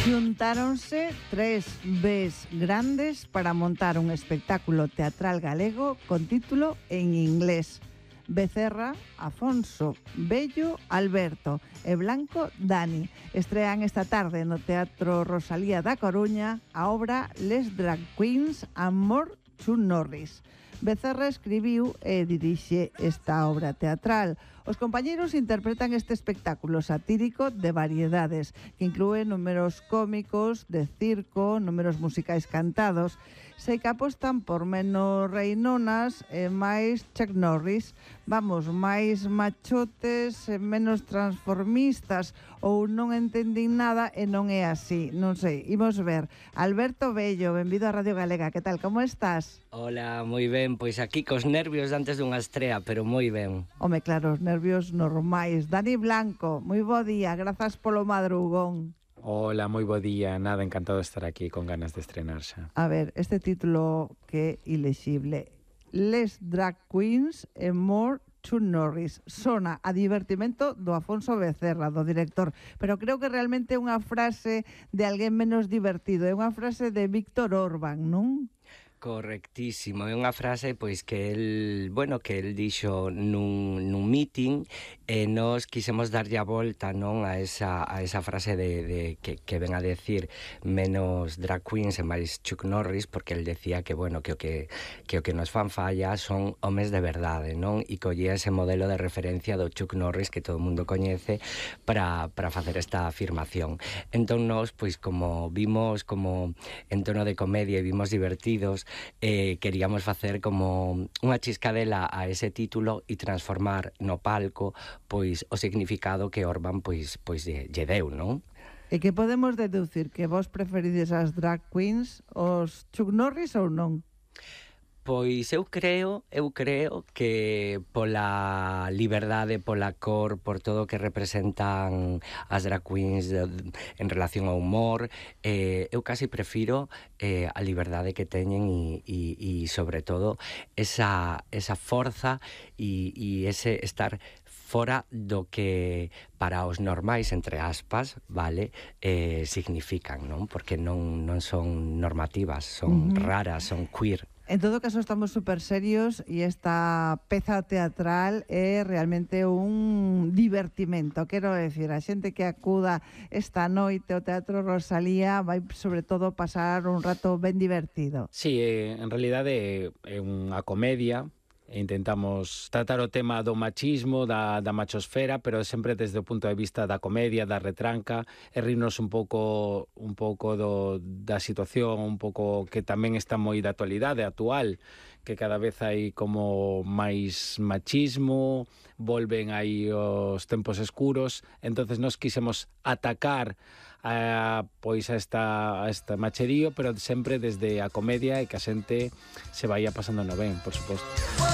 Xuntáronse tres Bs grandes para montar un espectáculo teatral galego con título en inglés. Becerra, Afonso, Bello, Alberto e Blanco, Dani. Estrean esta tarde no Teatro Rosalía da Coruña a obra Les Drag Queens and More Chuck Norris. Becerra escribiu e dirixe esta obra teatral. Os compañeiros interpretan este espectáculo satírico de variedades que inclúe números cómicos, de circo, números musicais cantados. Sei que apostan por menos reinonas e máis Chuck Norris. Vamos, máis machotes e menos transformistas, ou non entendín nada e non é así. Non sei, imos ver. Alberto Bello, benvido a Radio Galega. Que tal, como estás? Hola, moi ben, pois aquí cos nervios antes dunha estrea, pero moi ben. Home, claro, os nervios normais. Dani Blanco, moi bo día, grazas polo madrugón. Hola, moi bo día, nada, encantado de estar aquí con ganas de estrenar xa. A ver, este título que é ilexible. Les Drag Queens and More Chuck Norris. Sona a divertimento do Afonso Becerra, do director, pero creo que realmente é unha frase de alguén menos divertido, é unha frase de Víctor Orbán, non? Correctísimo, é unha frase pois que el dixo nun meeting e nós quisemos darlle a volta, non, a esa frase de que ven a decir menos drag queens e máis Chuck Norris, porque el decía que o que nos fan falla son homes de verdade, non? E collía ese modelo de referencia do Chuck Norris que todo o mundo coñece para facer esta afirmación. Entón nós, pois como vimos como en tono de comedia e vimos divertidos, queríamos facer como unha chiscadela a ese título e transformar no palco pois o significado que Orbán pois lle deu, non? E que podemos deducir? Que vos preferides as drag queens, os Chuck Norris ou non? Pois eu creo que pola liberdade, pola cor, por todo o que representan as drag queens en relación ao humor, eu casi prefiro a liberdade que teñen e sobre todo esa forza e ese estar fora do que para os normais, entre aspas, vale, significan, non? Porque non son normativas, son raras, son queer. En todo caso, estamos super serios e esta peza teatral é realmente un divertimento. Quero decir, a xente que acuda esta noite ao Teatro Rosalía vai, sobre todo, pasar un rato ben divertido. Sí, en realidade é unha comedia. Intentamos tratar o tema do machismo, da machosfera, pero sempre desde o punto de vista da comedia, da retranca, e rirnos un pouco da situación, un pouco que tamén está moi da actualidade actual, que cada vez hai como máis machismo, volven aí os tempos escuros, entonces nós quisemos atacar pois a esta macherío, pero sempre desde a comedia e que a xente se vaya pasando no ben, por suposto.